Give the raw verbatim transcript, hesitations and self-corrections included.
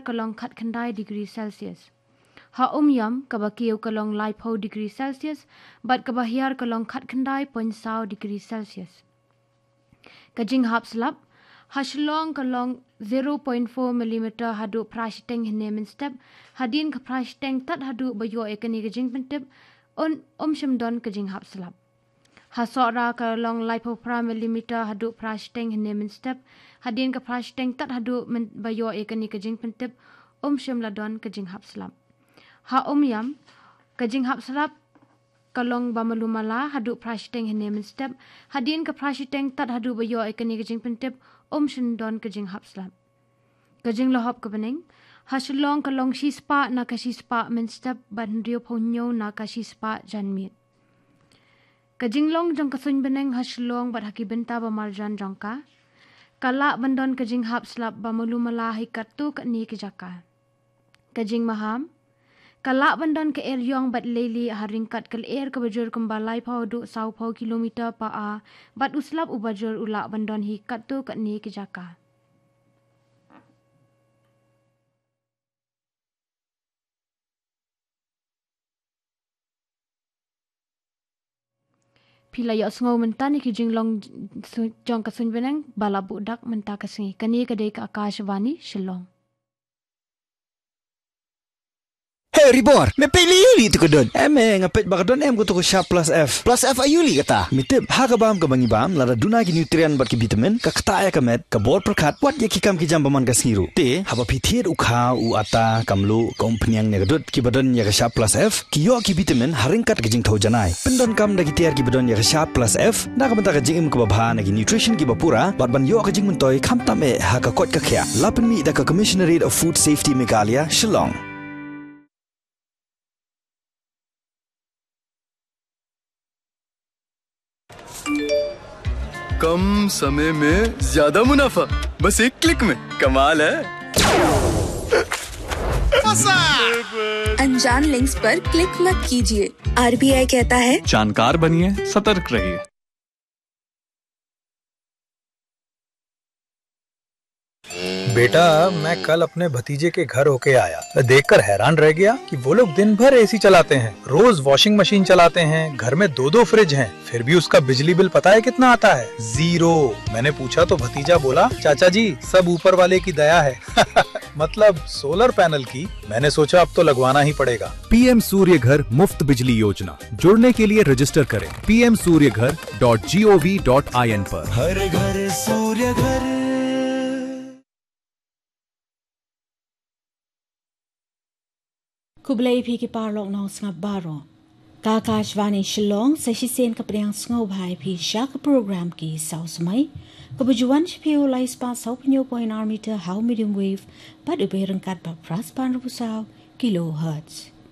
ka long khatkhyndai degree Celsius. Ha Umiam kaba kiew ka long laiphew degree Celsius, bad kaba hiar ka long khatkhyndai point saw degree Celsius. Ka jinghap slap, ha Shillong ka long zero point four millimeter haduh phra shiteng hynne mynstep, hadien ka phra shiteng tad haduh ba ïoh ïa kane ka jingpyntip, un, um shym don ka jinghap slap. Ha Sohra ka long laiphew phra millimeter haduh phra shiteng hynne mynstep, hadien ka phra shiteng tad haduh myn-, ba ïoh ïa kane ka jingpyntip, um shym la don ka jinghap slap. Ha Umiam, ka jinghap slap ka long ba malu mala haduh phra shiteng hynne mynstep, hadien ka phra shiteng tad haduh ba ïoh ïa kane ka jingpyntip, um shym don ka jinghap slap. Ka jinglahop ka bneng, ha Shillong ka long shispah na ka shispah mynstep, bad hynriewphew hynñiew na ka shispah janmiet. Ka jinglong jong ka suiñ bneng ha Shillong bad ha ki bynta ba marjan jong ka, ka lah ban don ka jinghap slap ba malu mala ha katto katne ki jaka. Ka jingmaham, ka lah ban don ka eriong bad leilieh ha ryngkat ka lyer kaba jur kumba laiphew haduh sawphew kilometer per hour, bad u slap uba jur u lah ban don ha katto katne ki jaka. Phi la ïohsngew mynta ïa ki jinglong su-, jong ka suiñ bneng ba la buh dak mynta ka sngi. Kane ka dei ka Akashvani Shillong. Hey Ribor, me peit lei aïu lei tu ka don? Em, eh, nga peit ba ka don em ka tu ka Sharp Plus F. Plus F aïu lei kata? Me tip, ha ka bam kaba ngi bam, lada duna ki nutrient bad ki vitamin, ka ktah ïa ka met, ka bor pyrkhat, wat ïa ki kam ki jam ba man ka sngi ruh. Te, haba phi thied u kha, u atta, ka mluh, ka umphniang ne ka dud, kiba don ïa ka Sharp Plus F, ki ïoh ki vitamin ha ryngkat ka jingthew janai. Pyndonkam da ki tiar kiba don ïa ka Sharp Plus F, na ka bynta ka jingim kaba bha na ki nutrition kiba pura, bad ban ïoh ka jingmyntoi khamtam eh ha ka koit ka khiah. La pynmih da ka Commissionerate of Food Safety Meghalaya, Shillong. कम समय में ज्यादा मुनाफा, बस एक क्लिक में। कमाल है। अनजान लिंक्स पर क्लिक मत कीजिए। आरबीआई कहता है, जानकार बनिए, सतर्क रहिए। बेटा, मैं कल अपने भतीजे के घर होके आया। मैं देखकर हैरान रह गया कि वो लोग दिन भर एसी चलाते हैं, रोज वॉशिंग मशीन चलाते हैं, घर में दो दो फ्रिज हैं, फिर भी उसका बिजली बिल पता है कितना आता है? ज़ीरो। मैंने पूछा तो भतीजा बोला, "चाचा जी, सब ऊपर वाले की दया है।" मतलब सोलर पैनल की। मैंने सोचा अब तो लगवाना ही पड़ेगा। पीएम सूर्य घर मुफ्त बिजली योजना। जुड़ने के लिए रजिस्टर करें P M Surya Ghar dot G O V dot I N पर। हर घर सूर्य घर। Khublei phi ki paralok nongsngap baroh. Ka Akashvani Shillong, sa shisien ka pdiang sngewbha ïa phi sha ka program Ki Saw Samoi, kaba ju wan sha phi u lai spah saw phew hynñiew point ar meter ha u medium wave, bad u beh ryngkat bad phra spah hynriewphew saw kilohertz.